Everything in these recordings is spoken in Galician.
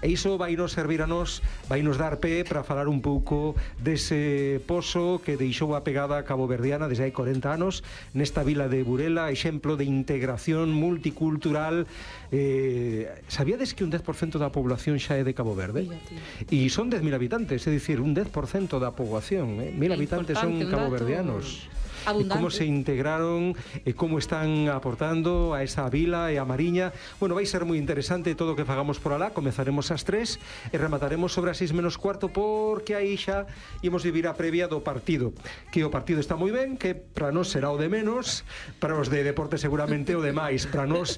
E iso vai nos servir a nós, vai nos dar pé para falar un pouco dese pozo que deixou a pegada caboverdiana desde hai 40 anos nesta vila de Burela, exemplo de integración multicultural. Sabíades que un 10% da población xa é de Cabo Verde? E son 10.000 habitantes, é dicir, un 10% da poboación, 1.000 habitantes son caboverdianos. Abundante. E como se integraron e como están aportando a esa vila e a Mariña. Bueno, vai ser moi interesante todo o que fagamos por alá. Comezaremos ás 3 e remataremos sobre as 6 menos cuarto, porque aí xa imos vivir a previa do partido, que o partido está moi ben, que para nós será o de menos, para os de deporte seguramente o de máis, para nós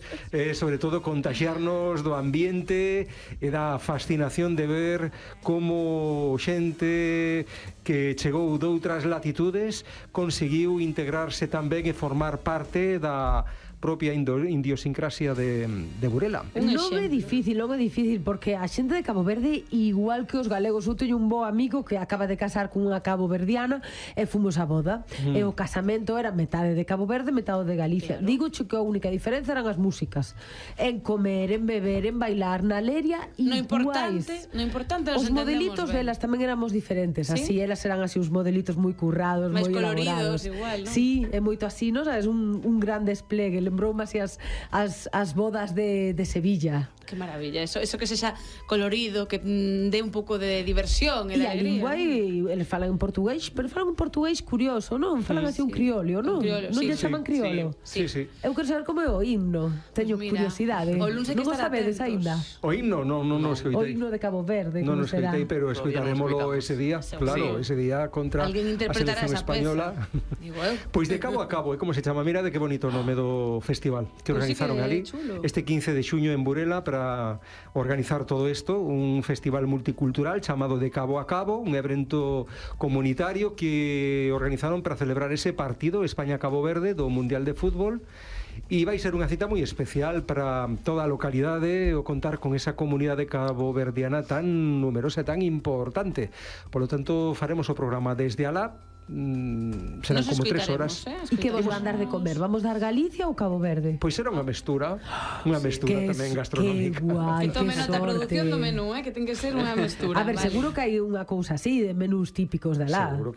sobre todo contagiarnos do ambiente e da fascinación de ver como xente que chegou doutras latitudes conseguiu integrarse tamén e formar parte da propia idiosincrasia de Burela. Non é difícil, porque a xente de Cabo Verde, igual que os galegos, eu teño un bo amigo que acaba de casar con unha caboverdiana e fomos a boda, e o casamento era metade de Cabo Verde, metade de Galicia. Claro. Digo que a única diferenza eran as músicas, en comer, en beber, en bailar, na leria, iguais. No importante os modelitos delas tamén éramos diferentes, ¿sí? Así elas eran así uns modelitos moi currados, moi elaborados, igual, ¿no? Sí, é moito así, non sabes, un gran desplegue. Lembroume así as bodas de Sevilla. Que maravilla, eso que sexa colorido, que dé un pouco de diversión e de alegría. E a lingua, eles falan en portugués, pero falan un portugués curioso, non? Falan así un criollo, non? Non lle chaman criollo? Sí. Eu quero saber como é o himno. Teño curiosidade. Non o sabedes aínda? O himno non escoitei. O himno de Cabo Verde, non como será? escoitei, pero escoitaremoslo ese día. Claro, ese día contra a selección española. Pois de cabo a cabo, é como se chama. Mira de que bonito o nome do festival que organizaron ali este 15 de xuño en Burela para organizar todo isto, un festival multicultural chamado De Cabo a Cabo, un evento comunitario que organizaron para celebrar ese partido España-Cabo Verde do Mundial de Fútbol. E vai ser unha cita moi especial para toda a localidade o contar con esa comunidade caboverdiana tan numerosa e tan importante. Por lo tanto, faremos o programa desde alá. Serán como 3 horas. E que vos van dar de comer? Vamos dar Galicia ou Cabo Verde? Pois será unha mestura tamén gastronómica. Que guai, que tomen nota a produción do menú, que ten que ser unha mestura. A ver, seguro que hai unha cousa así de menús típicos de lá. Seguro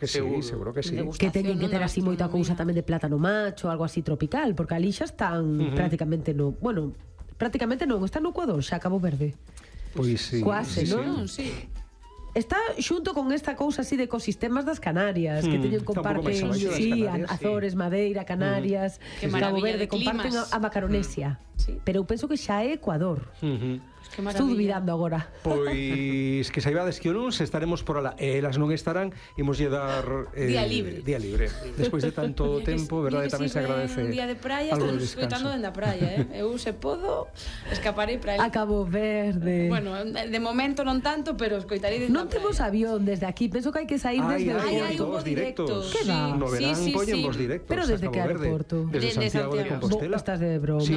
que sí. Que teñen que ter así moita cousa tamén de plátano macho, algo así tropical, porque ali xa están prácticamente no, bueno, prácticamente non, están no Ecuador, xa Cabo Verde. Pois sí. Quase, non? Sí. Está xunto con esta cousa así de ecosistemas das Canarias, que teñen comparten, Azores, Madeira, Canarias, Cabo Verde, comparten a Macaronesia. Pero eu penso que xa é Ecuador. Estou dubidando agora. Pois que saibades que o luns estaremos por alá e elas non estarán, imoslle dar día libre. Despois de tanto tempo, verdade, tamén se agradece. Un día de praia, estamos escoitando dende a praia, Eu se podo escaparei para ali. A Cabo Verde. Bueno, de momento non tanto, pero escoitarei dende a praia. Non temos avión desde aquí, penso que hai que sair desde o aeroporto. directos. Que va? No verán poñen vos directos. Pero desde que aeroporto? Desde Santiago de Compostela. Estás de broma. Sí.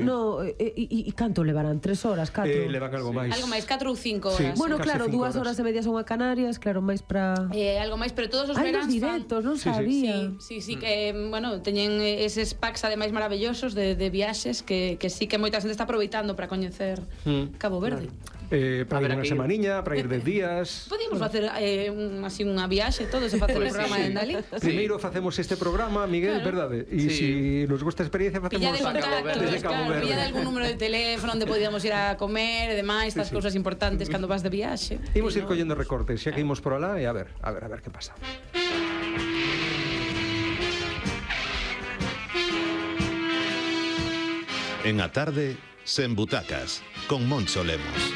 No, e canto levarán? 3 horas, 4? Levan algo máis. Algo máis, 4 ou 5 horas. Bueno, claro, 2 horas e media son a Canarias, claro, máis para... Algo máis, pero todos os veráns directos, non sabía. Sí, que, bueno, teñen eses packs ademais maravillosos de viaxes que sí que moita xente está aproveitando para coñecer Cabo Verde. Para ir unha semaniña, para ir 10 días. Podíamos facer así unha viaxe todos e facer o programa en Dalí. Primeiro facemos este programa, Miguel, verdade? E se nos gusta a experiencia facemos desde Cabo Verde. Pilla de algún número de teléfono onde podíamos ir a comer e demais, estas cousas importantes cando vas de viaxe. Imos ir collendo recortes, xa que imos por alá e a ver que pasa. En a tarde, sen butacas, con Moncho Lemos.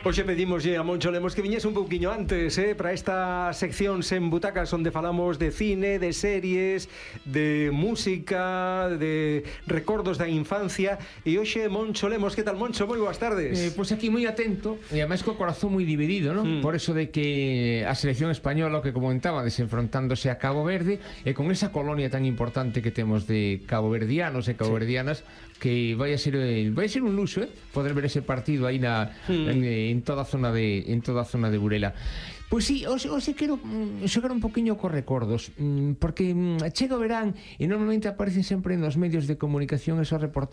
Hoxe pedimoslle a Moncho Lemos que viñese un pouquiño antes, para esta sección Sen Butacas, onde falamos de cine, de series, de música, de recordos da infancia. E hoxe Moncho Lemos, que tal, Moncho? Moi boas tardes. Pois aquí moi atento, e ademais co corazón moi dividido, non? Por eso de que a selección española, o que comentaba, desenfrontándose a Cabo Verde, e con esa colonia tan importante que temos de caboverdianos e caboverdianas, que vai a ser un luxo, poder ver ese partido aí en toda a zona de Burela. Pois sí, hoxe quero xogar un poquinho cos recordos, porque chega o verán e normalmente aparecen sempre nos medios de comunicación esos reportajes